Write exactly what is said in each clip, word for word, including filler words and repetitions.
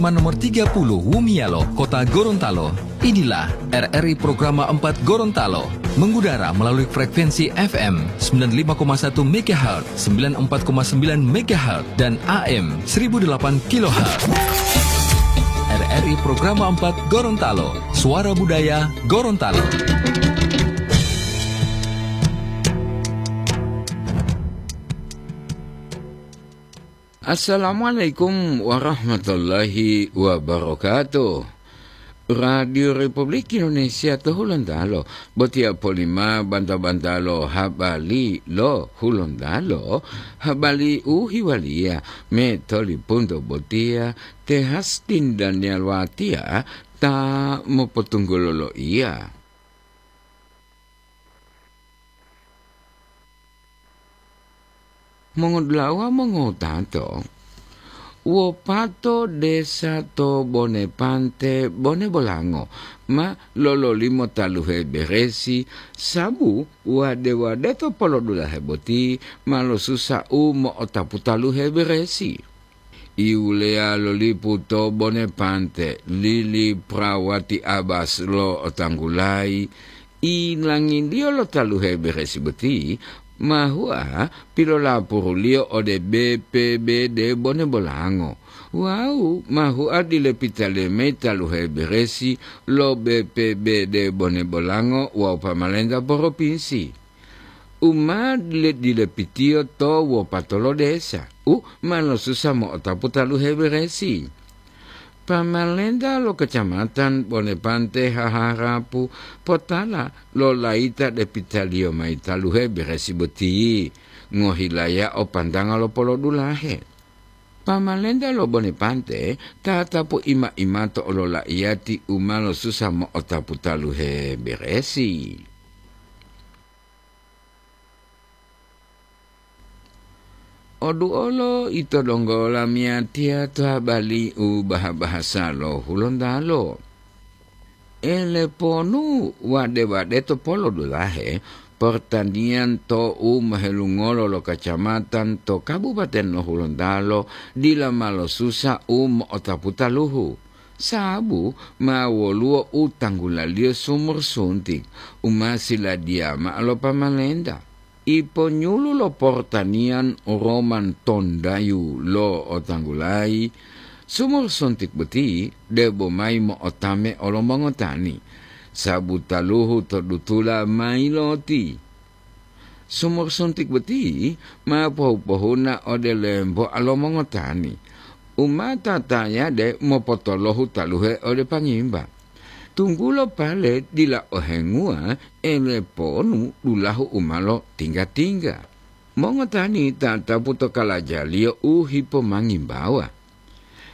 Nomor tiga puluh Wumialo, Kota Gorontalo. Inilah R R I Programa empat Gorontalo, mengudara melalui frekuensi F M sembilan lima koma satu megahertz, sembilan empat koma sembilan megahertz, dan A M seribu delapan kilohertz. R R I Programa empat Gorontalo, suara budaya Gorontalo. Assalamualaikum warahmatullahi wabarakatuh. Radio Republik Indonesia to Hulontalo, botiya polima banta-banta lo habari lo Hulontalo, habari u hiwaliya me tolipunto botiya te Hastin Daniel Watia ta mopotunggulo loiya. Mongodula'a mongowutato, wopato desa to Bonepante, Bonebolango, ma lololimo taluhe beresi, sabu wade-wade to polodulahe boti ma losusa u mo'otapu taluhe beresi. Iwuleya lo lipu to Bonepante, Lili Prawati Abas lo otanggulayi, ilangidiyo lo taluhe beresi boti ma hua pilolapuruliyo ode B P B D Bonebolango wawu ma hua dilepitaliyo mayi taluhe beresi lo B P B D Bonebolango wawu pamalenta poropinsi. U ma dile-dilepitiyo to wopato lo desa, u ma losusa mo'otapu taluhe beresi. Pamalenta lo Kecamatan Bonepante haharapu potala lo layita depitaliyo mayi taluhe beresi boti, ngohilaya o pantanga lo polodulahe. Pamalenta lo Bonepante tatapu ima-imato olola'iyati u ma losusa mo'otapu taluhe beresi. Oduolo ito donggo lamiyatiya to habari u baha-bahasa lo Hulontalo. Eleponu wade-wade to polodulahe, pertanian to u mohelungolo lo kacamatan to Kabupaten lo Hulontalo dila ma losusa u mo'otapu taluhu. Sabu ma woluwo u tanggulaliyo sumur suntik u ma siladiya ma'o lo pamalenta. Iponyulu lo portaniyan Roman Tondayu lo otanggulayi, sumur suntik boti debo mayi mo'otame olo mongotani, sabu taluhu to dutula ma yiloti. Sumur suntik boti ma pohu-pohuna ode lemboa lo mongotani, u ma tatayade mopotolohu taluhe ode pangimba. Tunggulo pale dila ohenguwa eleponu dulahu u ma lotingga-tingga. Mongotani tatapu to kalajaliyo u hipomangimbawa.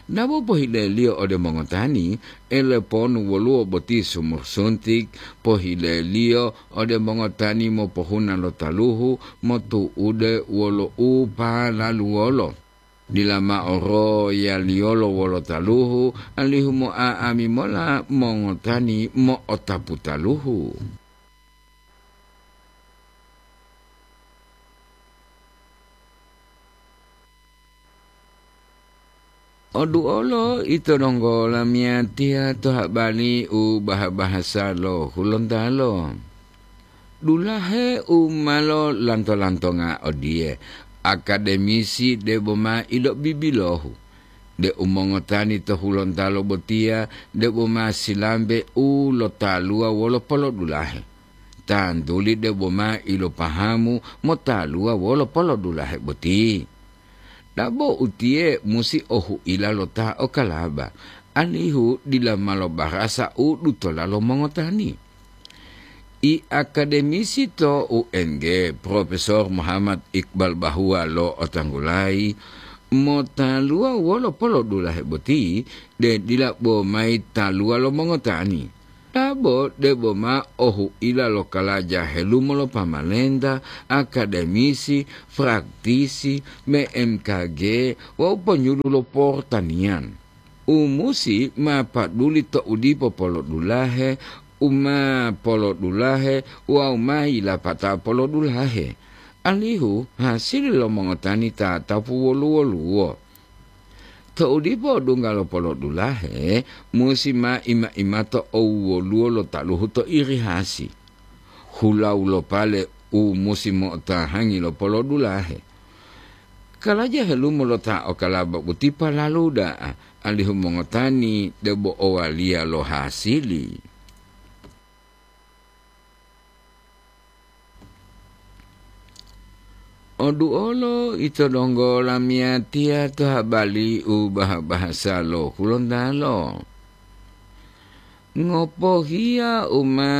Dabo pohileliyo ode mongotani, eleponu woluwo boti sumur suntik, pohileliyo ode mongotani mopohuna lo taluhu motu'ude wolo u palaluwolo. Dila mao royaliyolo wolo taluhu, alihu mo'a'ami mola mongotani mo'otapu taluhu. Oduolo ito donggo lamiyatiya to habari u baha-bahasa lo Hulontalo. Dulahe u ma lolanto-lantonga odiye, akademisi debo ma ilobibilohu, deu mongotani to Hulontalo botiya debo ma silambe u lotaluwa wolo polodulahe. Tantuli debo ma ilopahamu motaluwa wolo polodulahe boti. Dabo utiye musi ohuila lo ta okalaba, alihu dila ma lobarasa u dutola lo mongotani. I akademisi to U N G, Profesor Muhammad Iqbal Bahuwa lo otanggulayi, motaluwa wolo polodulahe boti, de dila bo mayi taluwa lo mongotani. Dabo debo ma ohuila lo kalaja helumo lo pamalenta, akademisi, praktisi, B M K G, wawu ponyulu lo portaniyan. U musi ma paduli to u dipo polodulahe, u ma polodulahe wawu ma yilapata polodulahe, alihu hasili lo mongotani tatapu wolu-woluwo. To'u dipo odungga lo polodulahe, musi ma ima-imato owwoluwo lo taluhu to irihasi. Hulau lo pale u musi mo'otahangi lo polodulahe. Kalaja helumo lo ta okalaba boti palalu da'a, alihu mongotani debo owaliya lo hasili. Oduolo ito donggo lamiyatiya to habali u baha-bahasa lo Hulontalo. Ngopohiya u ma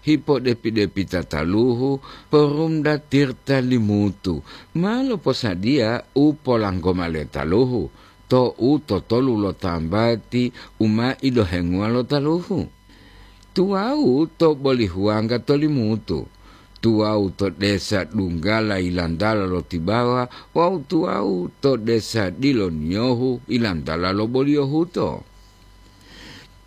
hipodepi-depita taluhu, Porumda Tirta Limutu ma loposadiya u polanggoma le taluhu to u totolu lo tambati u ma ilohenguwa lo taluhu. Tuwawu to Bolihuwangga to Limutu, tuwawu to desa Dunggala yilantala lo Tibawa wawu tuwawu to desa Diloniyohu yilantala lo Boliyohuto.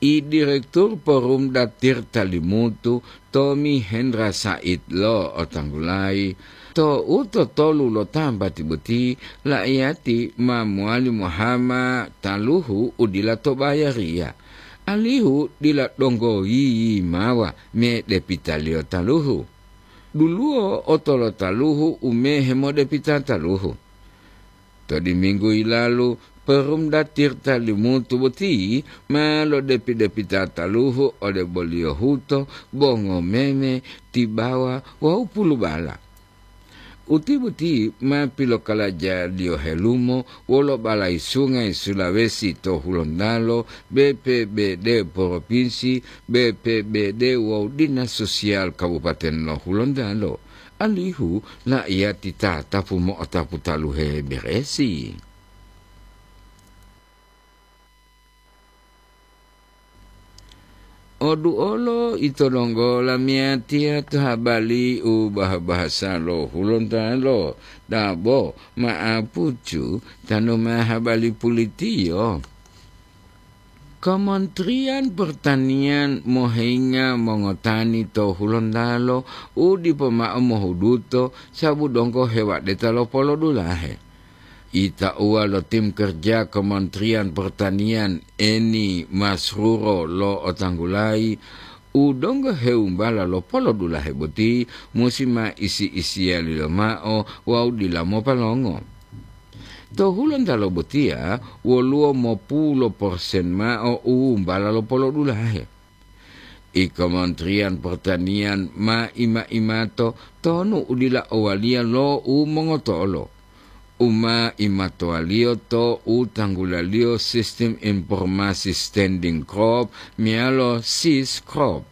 I Direktur Porumda Tirta Limutu, Tomi Hendra Said lo otanggulayi, to u totolu lo tambati boti, la'iyati ma mowali mohama taluhu u dila to bayariya, alihu dila donggo yiyimawa medepitaliyo taluhu. Duluwo otolotaluhu u mehe modepita taluhu. To diminggu yilalu, Porumda Tirta Limutu boti ma lodepi-depita taluhu ode Boliyohuto, Bongomeme, Tibawa wawu Pulubala. Uti boti ma pilokalajaliyo helumo wolo Balai Sungai Sulawesi to Hulontalo, B P B D Propinsi, B P B D wawu Dinas Sosial Kabupaten lo Hulontalo, alihu la'iyati tatapu mo'otapu taluhe beresi. Oduolo ito donggo lamiyatiya to habali u baha-bahasa lo Hulontalo, dabo ma'apucu tanu ma habali pulitiyo. Kementerian Pertanian mohenga mongotani to Hulontalo u dipo ma'o mohuduto sabu donggo hewadeta lo polodulahe. Itauwa lo tim kerja Kementerian Pertanian, Eni Masruro lo otanggulayi, u donggo heumbala lo polodulahe boti musi ma isi-isiyaliyo ma'o wawu dila mopalongo. To Hulontalo botiya woluwo mopulo persen ma'o u umbala lo polodulahe. I Kementerian Pertanian ma ima-imato tonu u dila owaliya lo u mongotolo, u ma imatowaliyo to u tanggulaliyo Sistem Informasi Standing Crop meyalo sis crop.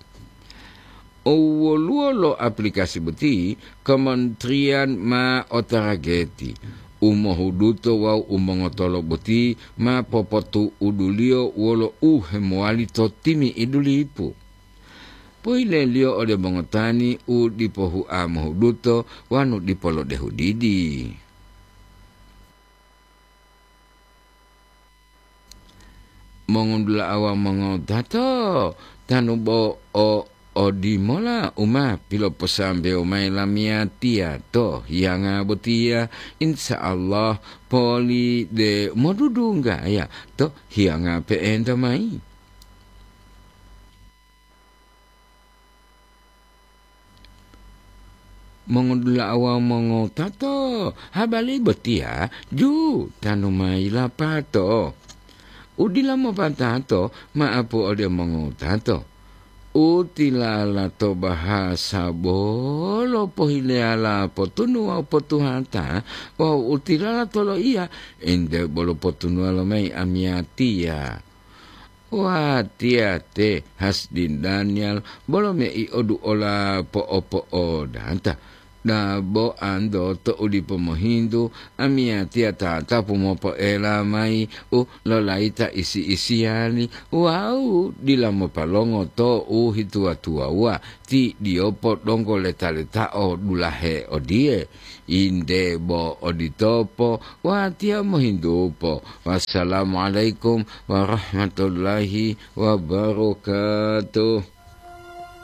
Owoluwo lo aplikasi boti, kementerian ma otarageti, u mohuduto wawu u mongotolo boti ma popotu'uduliyo wolo u hemowali to timi'idu lipu. Poyileliyo ode mongotani u dipo hua mohuduto wanu dipo lodehu didi. Mongudula'a wawu mongowutato, tanu bo o odimola u ma piloposambewo mayi lamiyatiya to hiyanga botiya, insya Allah poli de modudunggaya to hiyanga pe'enta mayi. Mongodula'a wawu mongowutato, habari botiya ju tanu mayi lapato. U dila mopatato ma'apu ode mongowutato. U tilala to bahasa bolo pohileyala potunu wawu potuhata, wawu u tilala to loiya ente bolo potunuwa lomayi amiyatiya. Watiya te Hasdin Daniel bolo mei'odu ola po'opo'odata. Dabo anto to u dipo mohintu, amiyatiya tatapu mopo'ela mayi u lolayita isi-isiyali wawu dila mopalongo to u hituwa-tuwawuwa ti diyopo donggo leta-letao dulahe odiye. Inde bo oditopo, watiya mohintupo. Wassalamualaikum warahmatullahi wabarakatuh.